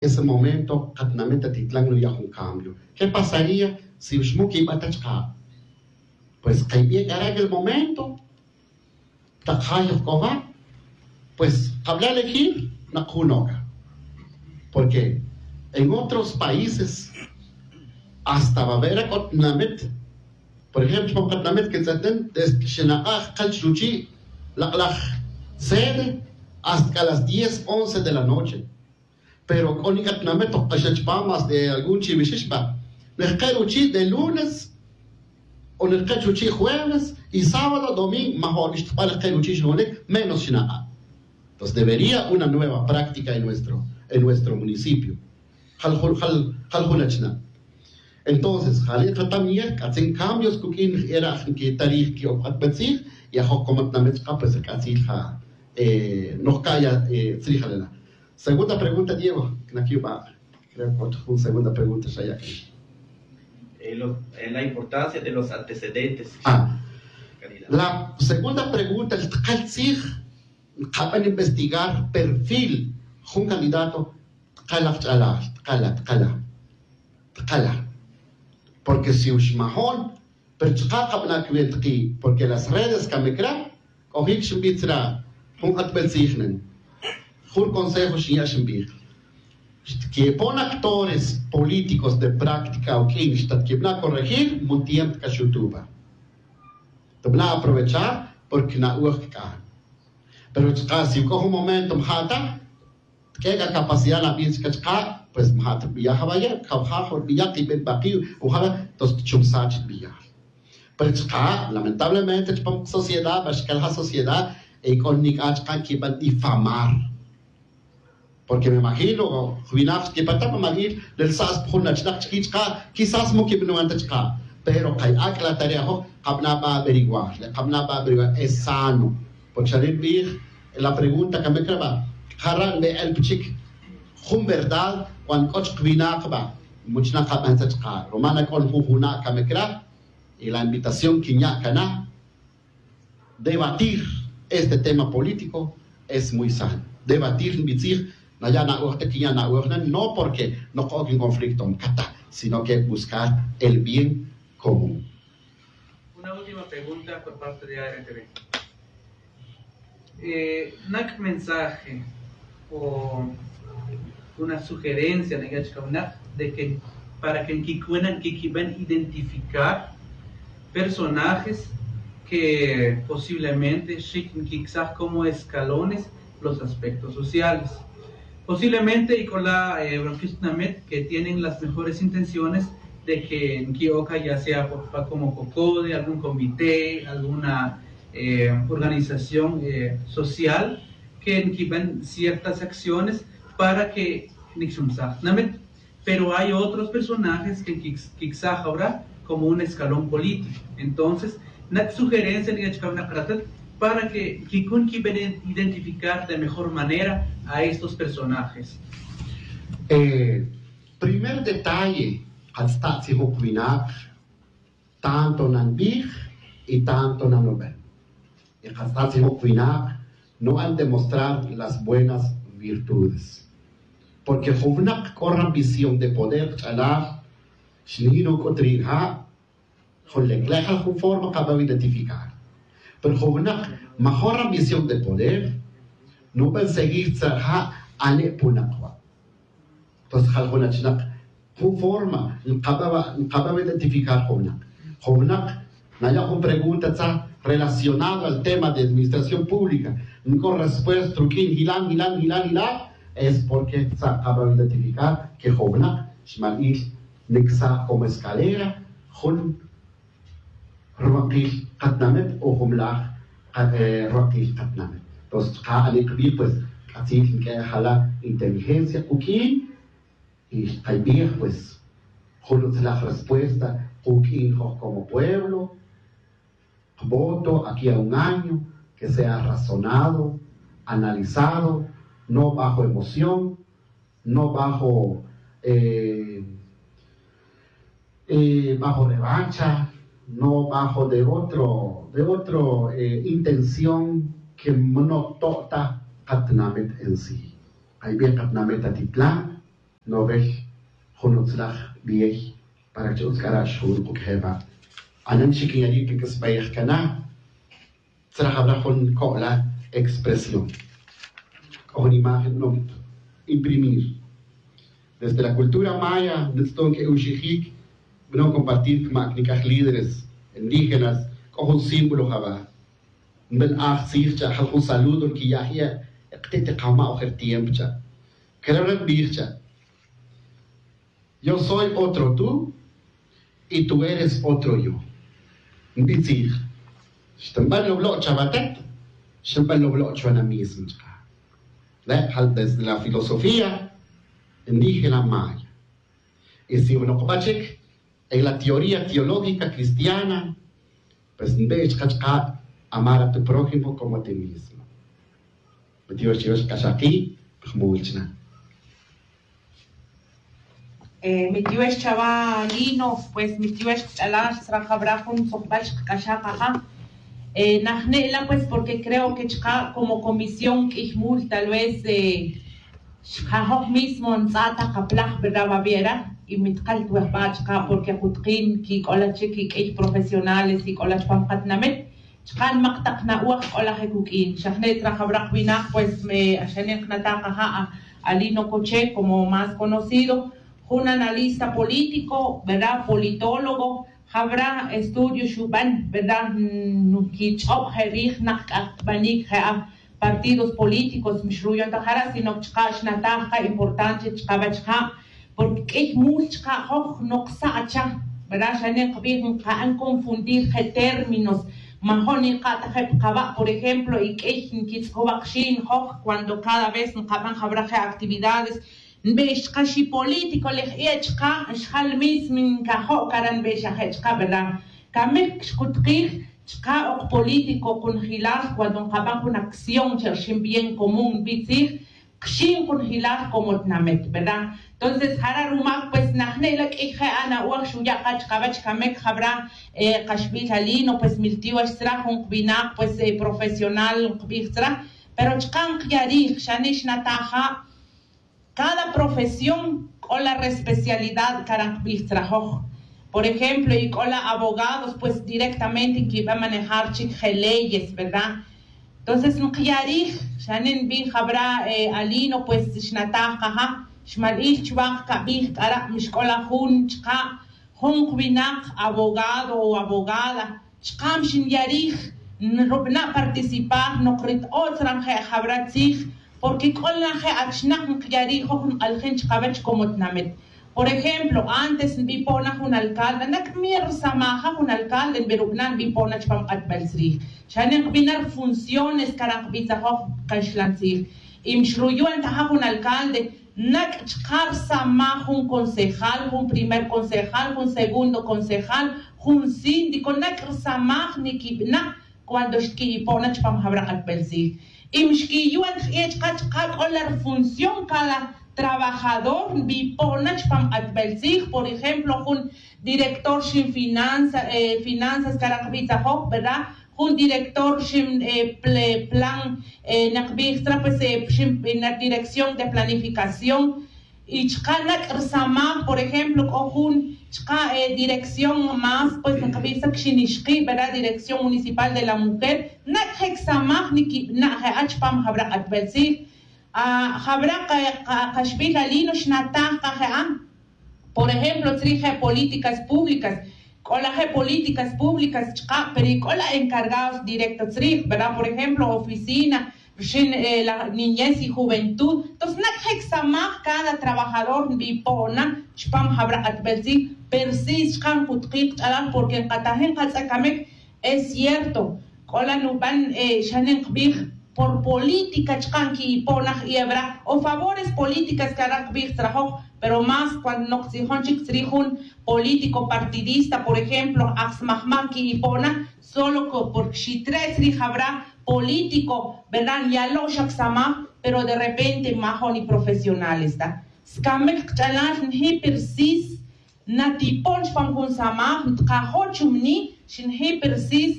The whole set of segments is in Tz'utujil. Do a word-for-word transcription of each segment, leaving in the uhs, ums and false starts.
ese momento katinamit atitlan nuya' jun cambio. ¿Qué pasaría si xmu' quiba' ta chaka'? Pues kaybi' k'ara' el momento tak jay oj k'o ja', pues kabla' elegir nak jun oca. Porque en otros países hasta va a ver k'o tinamit, por ejemplo chupam katinamit que tz'eten desde xinak'aj kal chuchi' lak'laj sede hasta k'a las diez once de la noche. Pero k'o nik'a tinamit oj k'axan chupam más de algún chiwixix va nejke' ruchi' de lunes o nejke' chuchi' jueves y sábado domingo majo'nix ta jbal nejke' ruchi' xjonik menos xinak'a'. Entonces debería una nueva práctica en nuestro en nuestro municipio. Jal jun jal jal jun achna'. Entonces jali' katam yej k'atzin cambios kuk'in era' nkitarij ki'ob' q'atbel tzij y ajoj komo tinamit chaka' pues k'atzil ja' noj ka'ya tzrij alena'. Segunda pregunta Diego, knakiba'. Creo que jun segunda pregunta xaya' k'ax. La importancia de los antecedentes. La segunda pregunta li tqal tzij nqaban investigar perfil jun candidato. Tqala' qch'alal tqala' tqala' tqala'. Porque si uxmajon pero chaka' kabana' cubierto ki' porque las redes camic ra. C'ojic xinbij tzra' jun k'atbel tzij nen jun consejo xinya' xinbij. Xtquipon actores políticos de práctica uq'uin xtatquibana' corregir mu tiempo c'a xutuba. Tabana' aprovechar porque na'oj c'a. Pero chaka' si uc'o jun momento maja' ta tq'ue' c'a capacidad nabij chica chaka' pues maja' ta rbiya' jawaya' cawja' jun rbiya' kiben bakiw. Uja' la tos tchumsaj chi rbiya'. Pero chaka' lamentablemente chupam sociedad va xcal ja' sociedad y c'o nic'a chaka' quiban difamar. Porque me imagino jwinaj xquipan ta pa mabil lel sas pa jun achnak chiqui' chaka' quizás mu quibanuan ta chaka'. Pero kay ac'la tare' ajoj kabana' ba averiguar le kabana' ba averiguar es sano. Porque xa ri nbij la pregunta camic ra ba jara' nbe'el pa chic jun verdad cuando c'o chik winak ba muchnak kaban tzet chaka' roma na c'o jun juna' camic ra. Y la invitación quinya' cana debatir este tema político es muy sano. Debatir nbitzij naya' na'oj ta quinya' na'oj na no porque noj k'o kin conflicto mcata sino que buscar el bien común. Una última pregunta por parte de a r t v. Nak' mensaje o una sugerencia naya' chka winak de que para que nkicuena nkiquiben identificar personajes que posiblemente xic nkicsaj como escalones los aspectos sociales. Posiblemente y c'ola' ronquil tinamit que tienen las mejores intenciones de que nqui'oca ya sea pa como cocode algún comité alguna organización social que nquiben ciertas acciones para que nicxumsaj tinamit. Pero hay otros personajes que nquicsaj ahora como un escalón político. Entonces nak' sugerencia naya' chka winak ratet para que nquicun quiben identificar de mejor manera a estos personajes. Primer detalle katzta' tzijok winak tanto nanbij y tanto nanubel. Y katzta' tzijok winak nuban demostrar las buenas virtudes. Porque jun winak c'o rambición de poder kch'alal xnij nuc'ut ri' ja' jun leclejal jun forma kabaw identificar. Pero jun winak major rambición de poder nuban seguir tzerja' ane' punak wa'. Entonces jal jun achnak jun forma nkabaw identificar jun winak. Jun winak naya' jun pregunta tzaj relacionado al tema de administración pública. Nc'o respuesta ruq'uin jilan jilan jilan jilan. Es porque tzaj kabaw identificar que jun winak xmalbil nicsaj como escalera jun rubakil katinamit o jun laj rubakil katinamit. Entonces chka' ani' kbi pues k'atzil nq'ue' jala' inteligencia kuq'uin. Y xkaybij pues jun utzilaj respuesta kuq'uin joj como pueblo. Kvoto aquí a un año que sea razonado, analizado, no bajo emoción, no bajo eh, eh, bajo revancha, no bajo de otro de otro eh, intención que mnoto' ta katinamit en sí. Kaybij katinamit atitlan. Nobel jun utzlaj biyey para chi utz k'ara' xjun quk' jeba'. Anan chi kinyari' kik'isbeyej kana' tzra jabra jun ko'la expresión. K'o jun imagen b'anom imprimir desde la cultura maya nitz'ton k'e uxijik b'anom compartir kma' nik'aj líderes indígenas. K'o jun símbolo jaba' nb'el aj tzij cha' jal jun saludo nkiya'ji' eqti' ti qama' ojer tiempo cha' kere' nb'ij cha' yo soy otro tú y tú eres otro yo. Nb'i tzij xtinb'an lob'lo' chawatet xtinb'an lob'lo' chwa na mismo chqa'. Le' jal desde la filosofía indígena maya y si noqb'a chik en la teoría teológica cristiana pues nb'e chqa' chqa' amar a tu prójimo como a ti mismo. Mitiyox chiyox k'axaqi' jmul chna. Mitiwex chawa Lino, pues mitiwex kch'alal tzra jabra jun tzojbal xkak'axaj aja. Najne' la pues porque creo que chka' como comisión k'ij mul tal vez xjajoj mismo ntz'a' ta kaplaj verdad babiera y mitqal twejba' chka' porque jutqin kik'ola chik kik'ij profesionales kik'ola chpam katinamit. Chka' nmaq taq na'oj k'ola je kuk'in xajne' tzra jabra qwinaq pues xane' nqnataj qaja' alino koche como más conocido jun analista político verdad politólogo jabra estudio xub'an verdad nkich'ob' je rij naq k'aj tb'anik je aj partidos políticos mixruyon ta jara' sino chka' xnataj qa importante chka' wach ja' porque k'ij mul chka' joj noqsa' cha verdad xane' nqb'ij nqa'n confundir je términos majo' niqa' ta je pqawa' por ejemplo y k'ij nkitz'jwaq xin joj cuando cada vez nqab'an jab'ra je actividades nb'ix chka xi político lej e' chka xjal mismo nkajo' cara' nb'ix aje' chka verdad kamik xkutqij chka ok político kunjilal cuando nqab'an jun acción che rxin bien común nb'i tzij kxin kunjilal como tnamit verdad. Entonces jara' rumak pues najne' la k'ij je' ana'oj xuya' qa chkawech kamik jab'ra qaxb'il alino pues miltiw axtzra jun qwinaq pues profesional nqb'ij tzra pero chka' nqya' rij xane' xnataj ja' cada profesión k'o la respecialidad cara' nqb'ij tzra joj. Por ejemplo y k'o la abogados pues directamente nkib'an manejar chik je leyes verdad. Entonces nqya' rij xane' nb'in jab'ra alino pues xnataj qa ja' xmal'il chwaq kab'ij k'ara' mixk'ola jun chka' jun qwinaq abogado o abogada chka' mxinya' rij nrub'na' participar noq rit o' tzra nje' jab'ra tzij porque k'o la je' achnaq nqya' rij joj nq'aljin chkawech como tnamit. Por ejemplo antes nb'i po'na jun alcalde nak' mir rsamaja jun alcalde nb'i rub'na' nb'i po'na chpam q'atb'al tzrij xane' nqb'i na rfunciones cara' nqb'i tzajoj kaxlan tzij y mxruyon ta ja' jun alcalde nak' chka' rsamaj jun concejal jun primer concejal jun segundo concejal jun síndico nak' rsamaj nikib'na' cuando xtki'ipo' na chpam jab'ra q'atb'al tzij y mixkiyu'an jq'i'e chka' chka' k'o la rfunción cada trabajador nb'ipo' na chpam q'atb'al tzij por ejemplo jun director xin finanzas cara' nqb'i tzajoj verdad jun director xin plan naqb'ij tzra pues xin dirección de planificación y chka' nak' rsamaj por ejemplo k'o jun chka' dirección más pues nqb'ij tzra kxin ixqi' verdad dirección municipal de la mujer nak' je' ksamaj nikib'na' je'a chpam jab'ra q'atb'al tzij jab'ra qaxb'il alino xnataj qa je'a por ejemplo tzrij je' políticas públicas k'o la je' políticas públicas chka' pero y k'o la encargados directo tzrij verdad por ejemplo oficina rxin la niñez y juventud tos nak' je' ksamaj cada trabajador nb'ipo' na chpam jab'ra q'atb'al tzij pero si chka' nkutqij qch'alal porque nqatajin qatz'a' kamik es cierto k'o la nub'an xane' nqb'ij por política chka' nki'ipo' na j'i'eb'ra o favores políticas cara' nqb'ij tzrajoj pero más cuando noq tzijon chik tzrij jun político partidista por ejemplo aj smajmaj nki'ipo' na solo porque xitre' tzrij jab'ra político verdad nyalo' xa ksamaj pero de repente majo' niprofesionales ta skamik qch'alal nji' persis natipo'n chpam jun samaj ntqajo' chumni' xinji' persis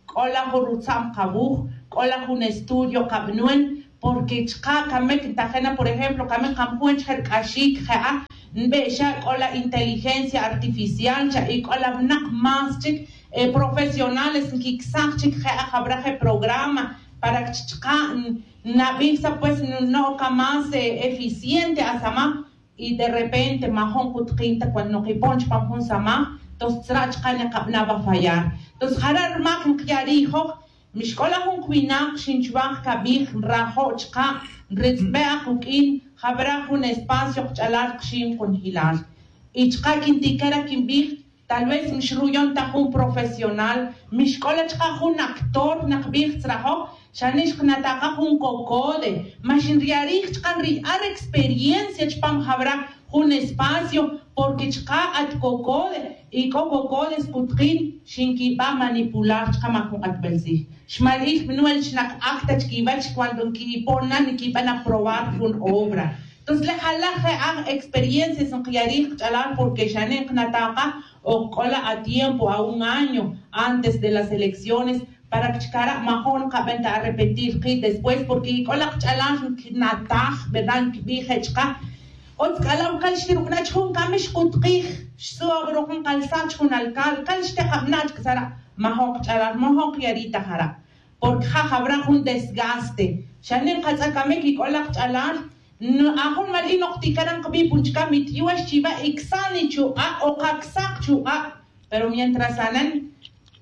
k'o la jun rutza'm qawuj k'o la jun estudio qab'nun Porque chka' kamik ntajena, por ejemplo, kamik qamjun chje' rk'axik je'a nbe'xa k'ola inteligencia artificial cha' y k'ola winak más chik profesionales nkiksaj chik je'a jawra je programa para chka' nabij sa pues no'oka más eficiente asama. Y de repente majun kutqin ta cuando nokipon chpam jun samaj. Entonces tzra' chka' nekabana' wa fallar. Entonces jara' rmak nqya' ri'ijoj. Mixk'ola jun kwinak xin chwaj kabij nrajo' chka' nritz'be' akuk'in jawra jun espacio qch'alal qxin qunjilal. Y chka' kintikara kinbij tal vez mixruyon ta jun profesional, mixk'ola chka' jun actor nakbij tzrajoj. Xani' xknataka jun cocode ma xinriyarij chka' nri'ar experiencia chpam jawra jun espacio. Porque chka' at cocode y k'o cocodes kutqin xinkiba manipular chka' ma jun k'atbel tzij xmal'ij bnuel chnak acta chkiwach cuando nkipon na nkiban aprobar jun obra. Entonces le jalaj je' aj experiencias nkiyarij kch'alal porque xani' nknataka o k'ola a tiempo a un año antes de las elecciones para que chkara' majun nkaben ta arrepentir ki' después porque ik'ola kch'alal nknataj verdad nkibij je' chka'. Otz k'ala' wukal xtirubana' chjun kamix kutkij xsu'aw ruj nkalsaj chjun alcalde kal xtekabana' chkasara'. Majun kch'alal majun kiyari' ta jara'. Porque ja' jawra jun desgaste xani' nkatz'akamik ik'ola kch'alal. Ajun malin noktikara' nkabij pun chka' mi tiyu'ax chiwa' iksan ichuq'a' o kaksaj chuq'a'. Pero mientras anan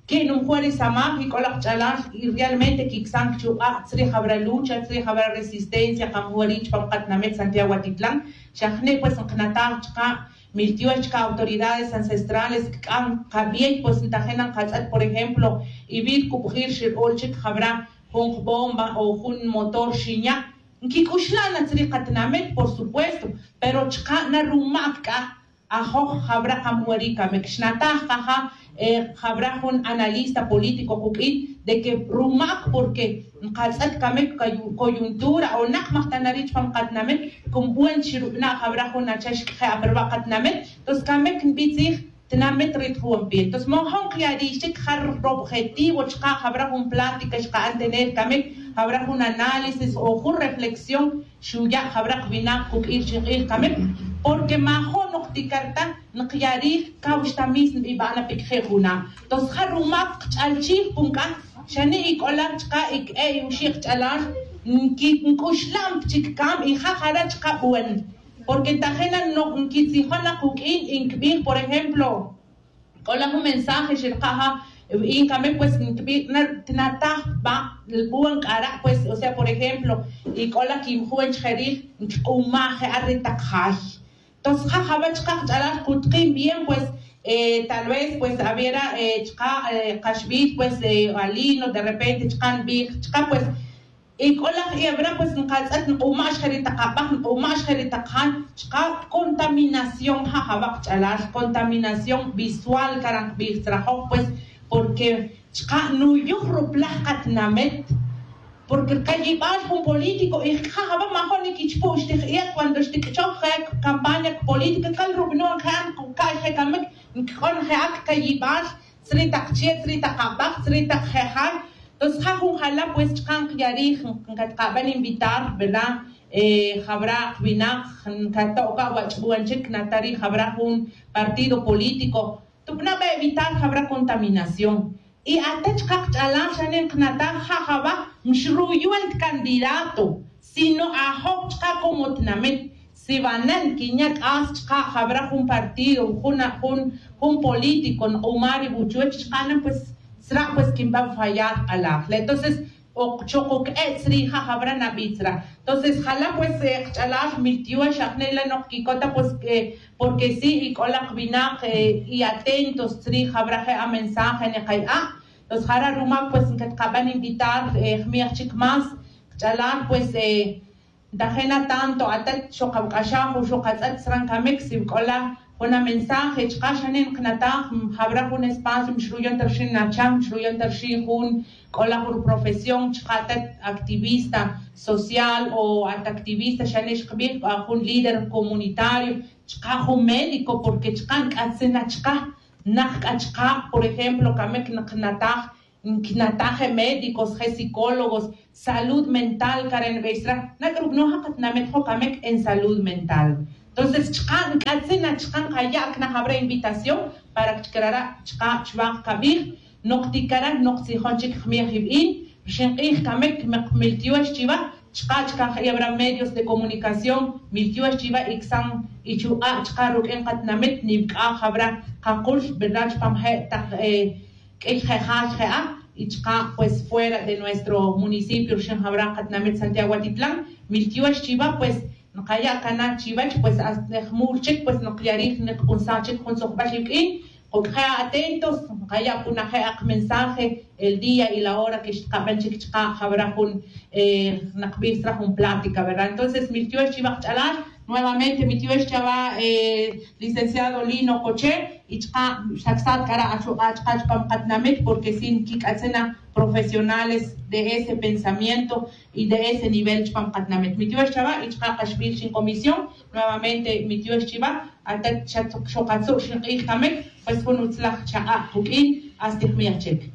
que numjuar isamaj ik'ola kch'alal y realmente kiksan chuq'a' tzrij jawra lucha tzrij jawra resistencia kamjuar ri' chpam katinamit santiago atitlan. Xa jni' pues nknataj chka' mi tiyu'ax chka' autoridades ancestrales kk'an kabey pues ntajena nkatz'at por ejemplo y wi' rkubjil xir'ul chik jawra jun jbomba o jun motor xinya'. Nkik'uxla' na tzrij katinamit por supuesto pero chka' na rumak k'a ajoj jawra kamwari' kamik xnataj kaja. Jawra jun analista político kuk'in de que rumak porque nkatz'at kamik coyuntura o nak majtanari' chpam katinamit. Como buen chi rubana' jawra jun acha xk'je' aperwa' katinamit. Entonces kamik nbitzij tinamit rit juwan pie entonces mojon kiyari' xchik ja robjetivo chka' jawra jun plática xka'an tener kamik jawra jun análisis o jun reflexión. Xuya' jawra kwinak kuk'il chi nk'ij kamik porque majo' noktikar ta nkiyarij kaw xta mis nbiba'an apikje' juna'. Entonces ja rumak kch'alchij pun k'a xani' ik'ola chka' ik'e' iwxi' kch'alal nkik'uxlam chik kam y ja jara' chka' buen. Porque ntajena nkitzijon na kuk'in y nkbij por ejemplo k'ola jun mensaje xirka' ja. Y nkame pues nkbij na tinataj ba buen k'ara' pues o sea por ejemplo y k'ola kinjuwen chjerij nkik'umaj je'ar re taq jay. Entonces ja jawech chka' kch'alal kutqin bien pues tal vez pues awiera chka' kaxbil pues alino de repente chka' nbij chka' pues y k'ola jebra pues nkatz'et nk'uma' xje ri taq abaj nk'uma' xje ri taq jay. Chka' contaminación ja jawak ch'alal contaminación visual kara' nkbij tzrajoj pues porque chka' nuyuj ruplaj katinamit. Porque kayibal jun político y ja jawak majo' nikichpu' xtij iet cuando xtik'choj je campaña política kal rub'nun je' nka'y je kamik nkik'on je'ak kayibal tzri taq chie' tzri taq abaj tzri taq je' jay. Entonces ja jun jala' pues chka' nkiyarij nkatqaban invitar verdad jawra' winak nkato'ka wach'buwan chik natarij jawra' jun partido político tub'na' ba evitar jawra' contaminación. Y ata chka' kch'alal xane' nknataj ja jawaj mxruyuwen tcandidato sino ajoj chka' como tinamit. Si wanan kinya' k'as chka' jawra' jun partido jun jun político nk'uma' ri wuchuwech chka' na pues tzra' pues kinban fallar k'alaj le entonces. Oq chokok'e' tzri' ja jawra' nabij tzra'. Entonces jala' pues kch'alal miltiwa xa jne' la' noq kikota pues porque si ik'olaq winaq y atentos tzri' jawra' je' amensaje niqaya'a'. Entonces jara' rumak pues nkatqaban invitar jmi'aj chik más kch'alal pues ntajena tanto atat xoqabk'axaj o xoqatz'at sran kamik si wk'ola jun amensaje chka' xane' nknataj jawra' jun espacio mixruyon ta rixin nachan mixruyon ta rixin jun k'ola jun ruprofesión chka' atat activista social o at activista xane' xqbij jun líder comunitario chka' jun médico porque chka' nk'atzin na chka' naj k'a chka' por ejemplo kamik nknataj nquinataj e médicos je psicólogos, salud mental care nbey sra. Nac' rucnoj a katinamit jo' camic en salud mental. Entonces chka' nc'atzin na chka' nkaya' cna jabra invitación para que crara' chka' chwa kabij. Nok ticara' nok tzijon chic jmiej ibi'. Rxin k'ij camic mek miltiox chiva chka' chka' jebra medios de comunicación miltiox chiva y csan y chuk'a' chka' ruq'uin katinamit nivc'a jabra kakul verdad chpam je' tak k'ij je' ja' je' a y chka' pues fuera de nuestro municipio rxin jabra katinamit santiago atitlán miltiox chiva pues nkaya' cana chiwech pues hasta jmul chic pues nkyarij nkp'unsaj chic jun tzojbal iwq'uin. K'oq'je' atentos nkaya' punaje' ak mensaje el día y la hora que xtkaben chic chka' jabra jun nakbij sra jun plática verdad. Entonces miltiox chiwa kach'alal nuevamente miltiox chawa licenciado Lino Coche y chka' xtacsat k'ara' achuk'a' chka' chpam katinamit porque si nkik'atzin na profesionales de ese pensamiento y de ese nivel chpam katinamit mitiox chawa y chka' kaxbil chin comisión. Nuevamente mitiox chiwa atat xokatzu' xink'ij kamik pues jun utzlaj chak'a' juk'in. Hasta jmiej chik.